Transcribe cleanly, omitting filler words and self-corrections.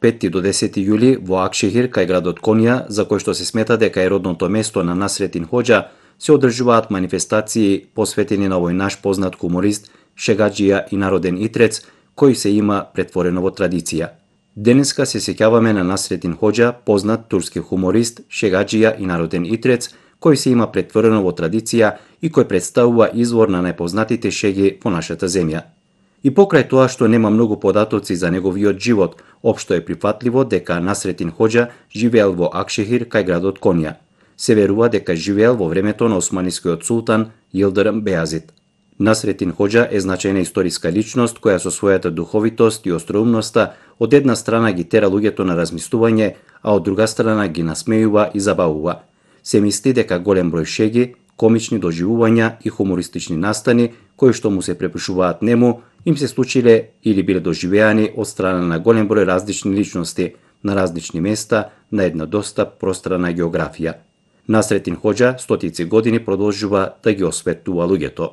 5 до 10 јули во Акшехир кај градот Конија, за кој што се смета дека е родното место на Насретин Хоџа, се одржуваат манифестации посветени на овој наш познат хуморист, шегаџија и народен итрец, кој се има претворено во традиција. Денеска се сеќаваме на Насретин Хоџа, познат турски хуморист, шегаџија и народен итрец, кој се има претворено во традиција и кој представува извор на најпознатите шеги по нашата земја. И покрај тоа што нема многу податоци за неговиот живот, општо е прифатливо дека Насретин Хоџа живеел во Акшехир кај градот Конија. Се верува дека живеел во времето на османискиот султан Јилдирим Бејазид. Насретин Хоџа е значајна историска личност која со својата духовитост и остроумноста од една страна ги тера луѓето на размислување, а од друга страна ги насмејува и забавува. Се мисли дека голем број шеги, комични доживувања и хумористични настани кои што му се препишуваат нему им се случиле или биле доживеани од страна на голем број различни личности на различни места на една доста пространа географија. Насретин Хоџа стотици години продолжува да ги осветлува луѓето.